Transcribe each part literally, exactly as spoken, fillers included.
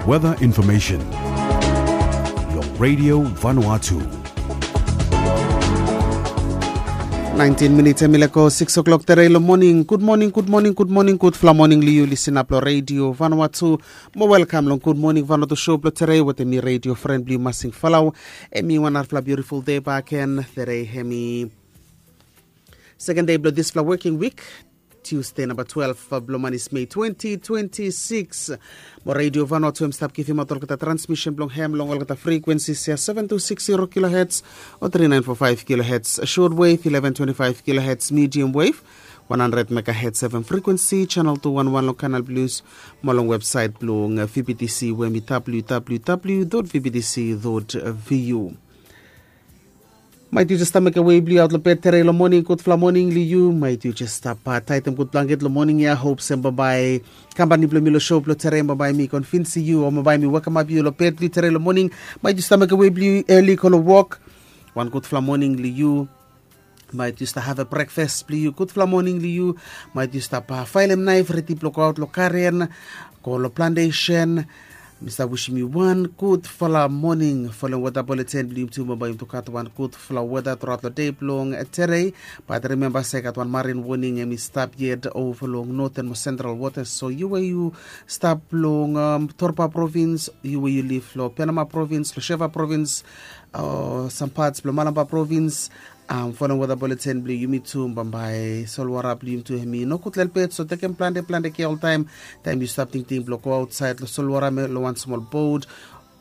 Weather information. Long Radio Vanuatu. Naentin minits hemi lego sikis o'clock tere long moning. Gud moning, gud moning, gud moning, gudfala moning long yu lisinap long Radio Vanuatu. Mo welkam long Gud Moning Vanuatu show blong tere wetem mi radio fren blong yu Masing Falau. Hemi wan narafala biutiful dei bakegen. Tere hemi seken dei blong disfala woking wik. Tiusdei namba twelef blong manis Mei twenti twenti sikis. Mo Radio Vanuatu hemi stap givimaot olgeta transmisen blong hem long olgeta frikwensis ya, seven two six zero kilohertz o three nine four five kilohertz shortwave, eleven twenty five kilohertz medium wave, one hundred megahertz F M frequency, channel two one one long Canal Plus, mo long website blong V B T C we hemi W W W dot V B T C dot V U. Maet yu jes stap mekem wei blong yu aot long bed tere long moning, gudfala moning long yu. Maet yu jes stap taetem gud blanket long moning ya. Hop se bambae kampani blong mi long show blong tere bambae mi konvinsim yu o bambae mi wekemap yu long bed blong yu tere long moning. Maet yu stap mekem wei blong yu eli go long wok. Wan gudfala moning long yu. Maet yu stap havem brekfas blong yu, gudfala moning long yu. Maet yu stap faelem naef redi blong goaot long garen, go long plantesen. Mi stap wisim yu wan gudfala moning. Folem weta buletin blong yumi tu, bambae yumi tu gat wan gudfala weta truaot long dei blong tere. Bat rimemba se i gat wan marin woning hemi stap yet ova long noten mo sentral wotas. So yu we yu stap long Torba provins, yu we yu liv long Penama provins, long Sheva provins, o sam pats blong Malampa provins, folem weta buletin blong yumi tu, bambae solwara blong yumi tu hemi nogud lelebet. So tekem plante plante kea oltaem taem yu stap tingting blong go aotsaed long solwara, long wan smol bot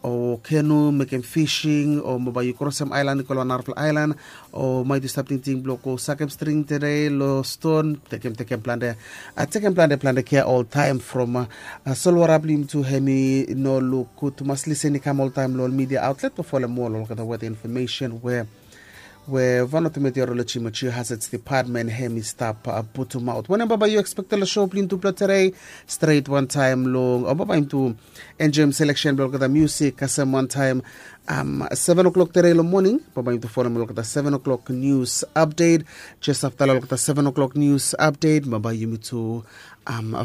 o kenu mekem fising, o bambae yu krosem aelan i go long wan narafala aelan, o maet yu stap tingting blong go sakem string tere long ston, tekem tekem plante, tekem plante plante kea oltaem from solwara blong yumi tu hemi no luk gud tumas. Lisen i kam oltaem long ol midia aotlet blong folem ol olgeta weta infomesen we we Vanuatu Meteoroloji mo Geohazards Department hemi stap putumaot. Wanem bambae yu ekspektem long show blong yumi tu blong tere? Stret wantaem long, o bambae yumi tu enjoem seleksen blong olgeta musik, kasem wantaem seven o'clock tere long moning bambae yumi tu folem olgeta seven o'clock news update. Jes afta long olgeta seven o'clock news update bambae yumi tu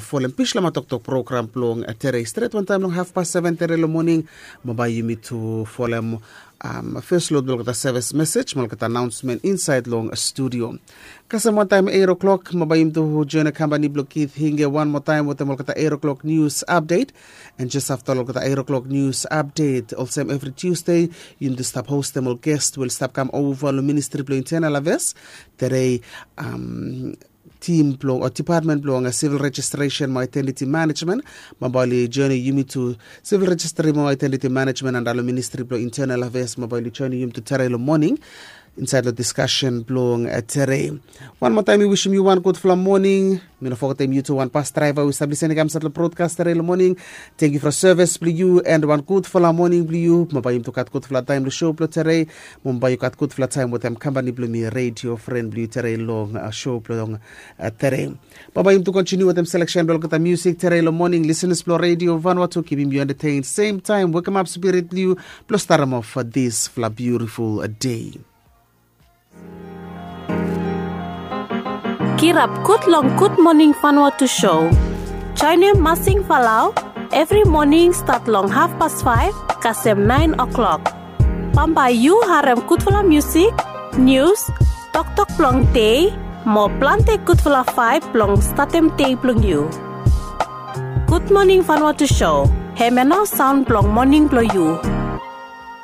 folem Bislama Toktok program blong tere stret wantaem long hafpas seven tere long moning. Bambae yumi tu folem fes lod blong olgeta sevis mesej mo olgeta anaonsmen insaed long studio. Kasem wantaem eight o'clock bambae yumi tu joen kampani blong Kith Hinge wan moa taem wetem olgeta eight o'clock news update. An jes afta long olgeta eight o'clock news update olsem evri Tiusde, yumi tu stap hostem ol ges we oli stap kam ova long Ministri blong Intenal Afeas. Tere tim blong o dipatmen blong sivil rejistresen mo aedentiti manejmen. Bambae oli joenem yumi tu, sivil rejistri mo aedentiti manejmen antap long Ministri blong Intenal Afeas, bambae oli joenem yumi tu tere long moning insaed long diskasen blong tere. Wan moa taem mi wisim yu wan gudfala moning. Mi no fogetem yu tu wan bas draeva we i stap lisenem i kam insaed long brodkas tere long moning. Tangkiu from sevis blong yu an wan gudfala moning blong yu. Bambae yumi tu gat gudfala taem long show blong tere. Bambae yu gat gudfala taem wetem kampani blong mi, redio fren blong yu tere long show blong tere. Bambae yumi tu kontiniu wetem seleksen blong olgeta musik tere long moning. Lisenas blong Redio Vanuatu, kipim yu entetein semtaem, wekemap spirit blong yu blong starem of disfala biutiful dei. Kirap gud long Gud Moning Vanuatu show. Joenem Masing Falau evri moning stat long hafpas faef kasem naen o'clock. Bambae yu harem gudfala musik, nius, toktok blong dei mo plante gudfala vaeb blong statem dei blong yu. Gud Moning Vanuatu show, hemia nao saon blong moning blong yu.